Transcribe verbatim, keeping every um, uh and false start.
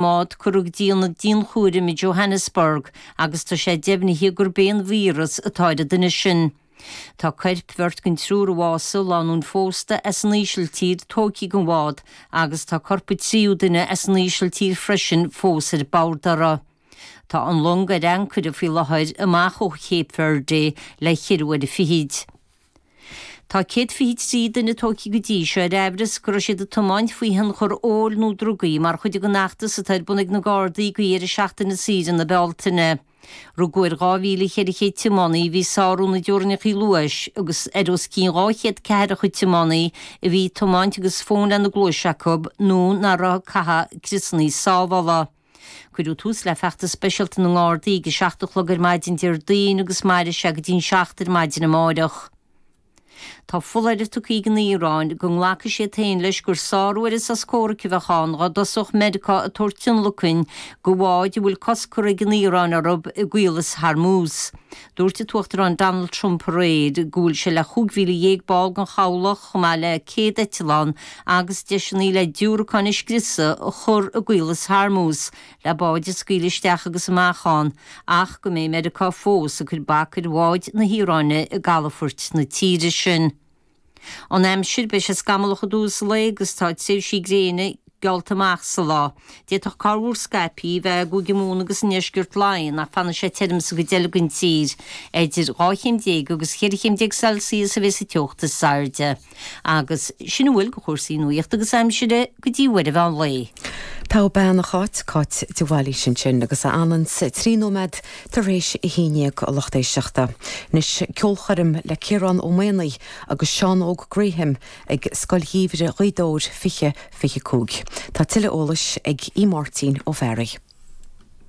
mbád curtha go dtí ionad dianchúraim i Johannesburg agus tá sé deimhnithe gurb é an víreas atá ar an duine sin. Tá coirp bheirt den triúr a bhásaigh, lánúin phósta as an Ísiltír, tógtha den bhád agus tá corp an tríú duine as an Ísiltír freisin fós ar bord uirthi. Tá an long ar ancaire faoi láthair amach ó Cape Verde le ceithre uaire fichid. Tá céad fiche trí duine tógtha go dtí seo ar amhras go raibh siad ag tiomáint faoi thionchar óil nó drugaí mar chuid den fheachtas atá ar bun ag na Gardaí go dheireadh seachtaine saoire na Bealtaine. Rugadh ar dhá mhíle cheithre chéad tiománaí a bhí ag sárú na dteorainneacha luais agus ar os cionn dhá chéad ceathracha tiománaí a bhí ag tiomáint agus fón lena gcluais acu nó nach raibh ag caitheamh criosanna sábhála. Cuireadh tús le feachtas speisialta na nGardaí ag a seacht a chlog ar maidin Déardaoin agus mairfidh sé go dtí an seacht ar maidin amárach. Tá foláireamh tugtha ag an Iaráin go nglacfaidh siad féin leis gur sárú ar an sos comhraic a bheadh ann dá dtosódh Meiriceá ag tabhairt tionlacain do bháid a bhfuil cosc curtha ag an Iaráin orthu i gCaolas Hormuz. Dúirt an tUachtarán Donald Trump aréir go bhfuil sé le chúig mhíle dhéag ball den chabhlach chomh maith le céad eitleán agus deiseanna le diúracáin a scriosadh a chur i gCaolas Hormuz le báid a scaoileadh isteach agus amach ann ach go mbeidh Meiriceá fós ag cur bac ar bháid na hIaráine i gcalafoirt na tíre sin. An aimsir, beidh sé scamallach i dtús an lae agus tá tréimhsí gréine geallta amach sa lá. D'fhéadfadh corrmhúr scaipthe a bheith i gCúige Mumhan agus i ndeisceart Laighean ach fanfaidh sé tirim sa gcuid eile den tír. Idir dhá chéim déag agus cheithre chéim déag Celsius a bheas an teocht is airde. Agus sin a bhfuil de chúrsaí nuachta agus aimsire go dtí uair an mheán lae. Togha bean a Cháit, Cáit de Bhailís ansin agus a fhananns trí nóiméad tar éis a haon déag a lucht éisteachta. Anois ceolchoirm le Ciarán Ó Maonaigh agus Seán Óg Graham ag Scoil Gheimhridh Ghaoth Dobhair fiche fiche cúig. Tá tuilleadh eolais ag Aodh Máirtín Ó Fearraigh.